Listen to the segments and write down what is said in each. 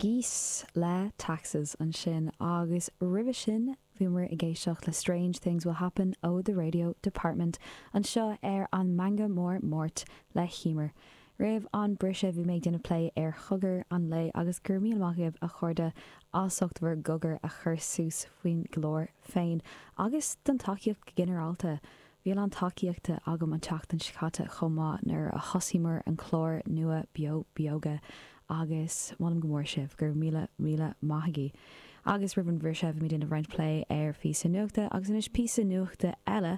Geese le Taxes ansin agus roimhe sin bhíomar ag éisteacht le Strange Things Will Happen ó The Radio Department anseo ar an Meangadh Mór Máirt le hEmer. Roimh an briseadh bhí mé ag déanamh plé ar chogar an lae agus go raibh míle maith agaibh a chairde as ucht bhur gcogar a chur suas faoin gclár féin agus don tacaíocht go ginearálta. Bhí a lán tacaíochta agam an tseachtain seo caite chomh maith nuair a thosaíomar an clár nua Beo Beoga agus molaim go mór sibh, go raibh míle míle maith agaibh. Agus roimh an bhriseadh bhí mé ag déanamh roinnt plé ar phíosa nuachta agus anois píosa nuachta eile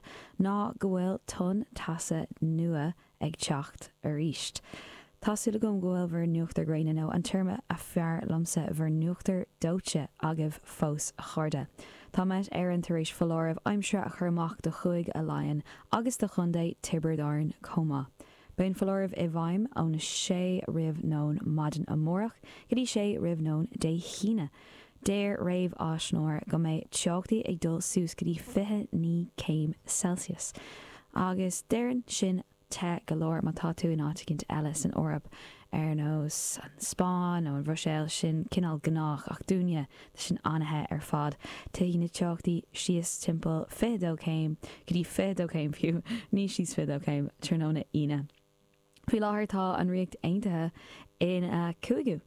ná go bhfuil tonn teasa nua ag teacht arís. Tá súil agam go bhfuil bhur n-uachtar gréine, nó an téarma a fearr liomsa, bhur n-uachtar dóite agaibh fós, a chairde. Tá Met Éireann tar éis foláireamh aimsire a chur amach do Chúige Laighean agus do Chontae Tiobraid Árann chomh maith. Beidh an foláireamh i bhfeidhm óna sé roimh nóin maidin amárach go dtí sé roimh nóin Dé hAoine. Deir réamhaisnéis go mbeidh teochtaí ag dul suas go dtí 29 céim Celsius. Agus déarfainn sin te go leor má tá tú in áit eicínt eile san Eoraip, ar nós an Spáinn nó an Bhruiséil, sin cineál gnách, ach dúinne, tá sin an-the ar fad. Titfidh na teochtaí síos timpeall 22 céim, go dtí 22 céim fiú, ní síos 22 céim, tráthnóna Aoine. Faoi láthair tá an Ríocht Aontaithe ina cúigiú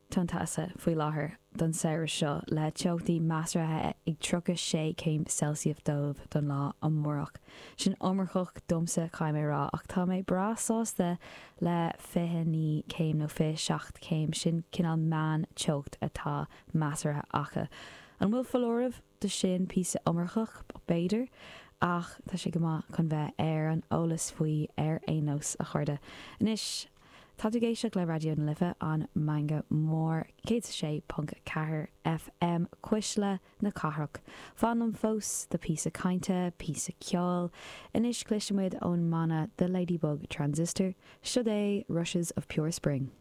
tonn teasa faoi láthair don samhradh seo le teochtaí measartha ag 36 céim Celsius dóibh don lá amárach. Sin iomarcach domsa caithfidh mé a rá ach tá mé breá sásta le 29 céim nó 27 céim, sin cineál meán teocht atá measartha acu. An bhfuil foláireamh? do sin píosa iomarcach, b'fhéidir, ach tá sé go maith chun bheith ar an eolas faoi ar aon nós, a chairde. Anois, tá tú ag éisteacht le Raidió na Life, an Meangadh Mór, 106.4 FM, Cuisle na Cathrach. Fan liom fós do píosa cainte, píosa ceoil. Anois cloisfidh muid ón mbanna The Ladybug Transistor. Siod é Rushes of Pure Spring.